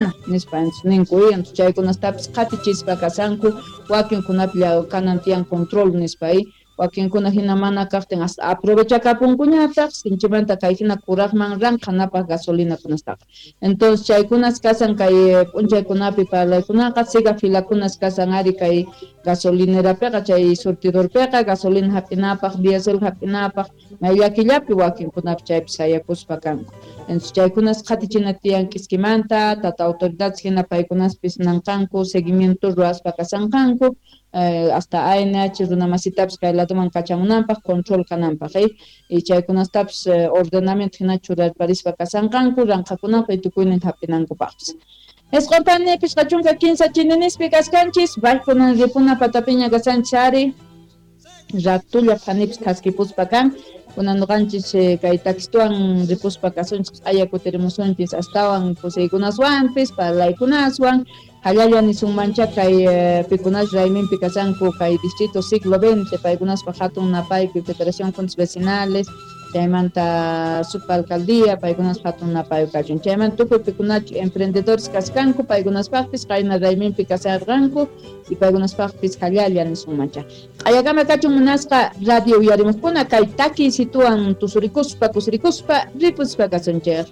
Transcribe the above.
Nispa ninku, chaykunastapis qhatichispa kashanku, wakinkunapi kanan tiyan control nispa, wakinkuna hina mana kaqtin hasta aprovechakapunkuñataq sinchimanta kay hina kuraqman ranqhanapaq gasolinakunastaqa. Entonces chaykunas kasan kay p'unchaykunapi parlaykunaqa, siga filakunas kasan ari kay gasolinerapiqa, chay surtidorpiqa gasolina hap'inapaq, diésel hap'inapaq, may llakillapi wakinkunapi chaypi sayakuspa kanku. Entonces chaykunas qhatichina tiyan k'iskimanta, tata autoridades hina paykunaspis nanqanku, seguimiento ruwaspa kasanqanku, hasta ANH runamasitapis kay ladoman kachamunanpaq, control kananpaq, y chaykunastapis ordenamiento hina churarparispa kasanqanku, ranqhakunapaq y tukuynin hap'inankupaqpis. 9 pani 53 chininispi kaskanchis, baykunan ripuna patapiña kasanchis ari, ratulla phanipis thaskipuspa kan, kunan nuqanchis kay takistuwan ripuspa kasunchis, q'aya kutirimusunchis astawan kusiykunaswanpis, parlaykunaswan, hallalla nisunmancha kay pikunas rayminpi kasanku kay distrito siglo XX, paykunaspa hatun napaykuy Federación Juntas Vecinales, chaymanta supa alcaldía, paykunaspa hatun napaykuy kachun, chaymanta tukuy pikunachu emprendedores kaskanku, paykunaspaqpis qayna rayminpi kasarqanku y paykunaspaqpis hallalla nisunmancha. Q'ayakama kachun munasqa radio uyarimuqkuna, kay takiysituwan tusurikuspa, kusirikuspa ripuspa kasunchik.